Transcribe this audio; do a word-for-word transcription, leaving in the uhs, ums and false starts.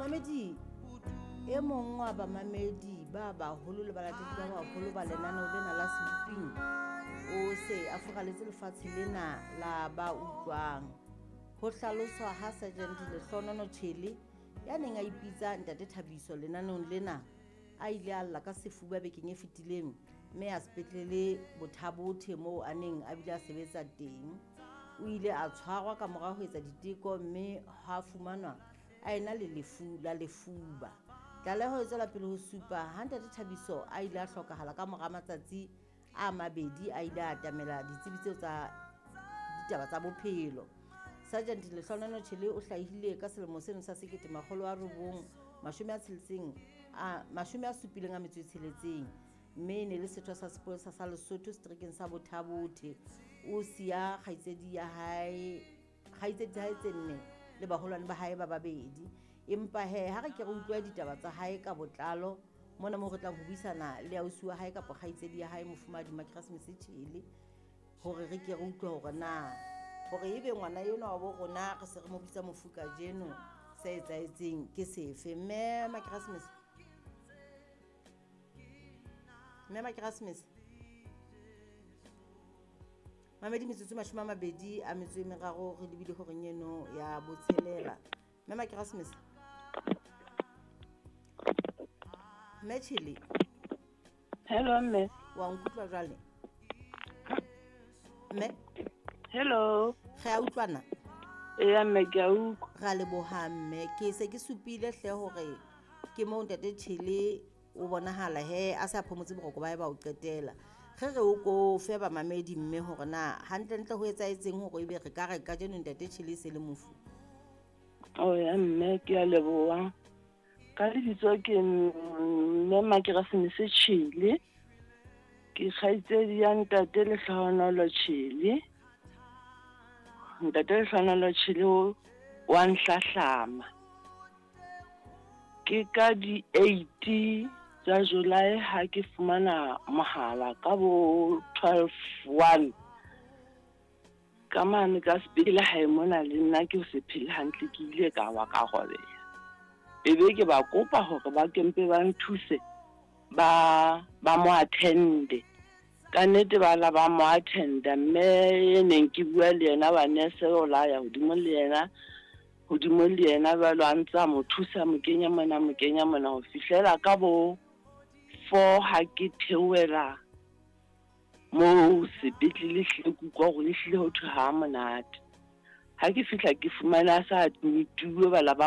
Mamedi, e mong wa bamamedi ba baholo le balatedi ba baholo ba lenaneo lena la Seboping o se a furaletse lefatshe lena la ba utlwang. Ho hlaloswa ha Sergeant Lehlonono Tjhele ya neng a ipitsa Ntate Thabiso lenaneong lena a ile a lla ka sefuba bekeng e fetileng mme a sepetlele Bothabothe moo a neng a bile a sebetsa teng. O ile a tshwarwa ka mora ho etsa diteko mme ha fumanwa a ena le lefu la lefuba. Tlaleho e tswela pele ho supa ha Ntate Thabiso a ile a hlokahala ka mora matsatsi a mabedi a ile a atamela ditsebi tseo tsa ditaba tsa bophelo. Sergeant Lehlonono Tjhele o hlahile ka selemo seno sa sekete makgolo a robong mashome a tsheletseng a mashome a supileng a metso e tsheletseng mme e ne le setho sa sepolesa sa Lesotho seterekeng sa Bothabothe. O siya kgaitsedi ya hae kgaitsedi tsa hae tse nne le baholwane ba hae ba babedi. Empa he ha re ke re utlwe ditaba tsa hae ka botlalo mona moo re tlang ho buisana le ausi wa hae kapa kgaitsedi ya hae Mofumahadi Makeresemese Tjhele hore re ke re utlwe hore na hore ebe ngwana enwa wa bo rona re se re mo bitsa mofu kajeno se etsahetseng ke sefe. Mme Makeresemese, mme Makeresemese, mamedi metsotso mashome a mabedi a metso e meraro re lebile horeng eno ya botshelela. Mme Makeresemese, mme Tjhele. Hello mme. Wa nkutlwa jwale? Mme? Hello. Re a utlwana? Eya mme, ke a utlwa. Re a leboha mme. Ke se ke supile hle hore ke moo Ntate Tjhele o bonahala he a se a phomotse boroko ba hae ba ho qetela. Re re o ko fe bamamedi mme hore na hantlentle ho etsahetseng hore ebe re ka re kajeno Ntate Tjhele e se le mofu. Oh ya mme, ke a leboha. Ka lebitso ke mme Makeresemese Tjhele. Ke kgaitsedi ya Ntate Lehlohonolo Tjhele. Ntate Lehlohonolo Tjhele wa nhlahlama. Ke ka di eight tsa July ha ke fumana mohala ka bo twelve one. Ka mane ka sepetlele hae mona le nna ke se phele hantle, ke ile ka wa ka robeha. Ebe ke ba kopa hore ba kempe ba nthuse ba ba mo attende. Ka nnete ba la ba mo attenda mme e neng ke bua le yena ba nurse o la ya hodimo le yena hodimo le yena jwalo a ntsa mo thusa mo kenya mona mo kenya mona ho fihlela ka bo four ha ke theohela moo sepetlele hlile ke utlwa hore ehlile ho thwe ha monate. Ha ke fihla ke fumana a sa admit-uwe ba la ba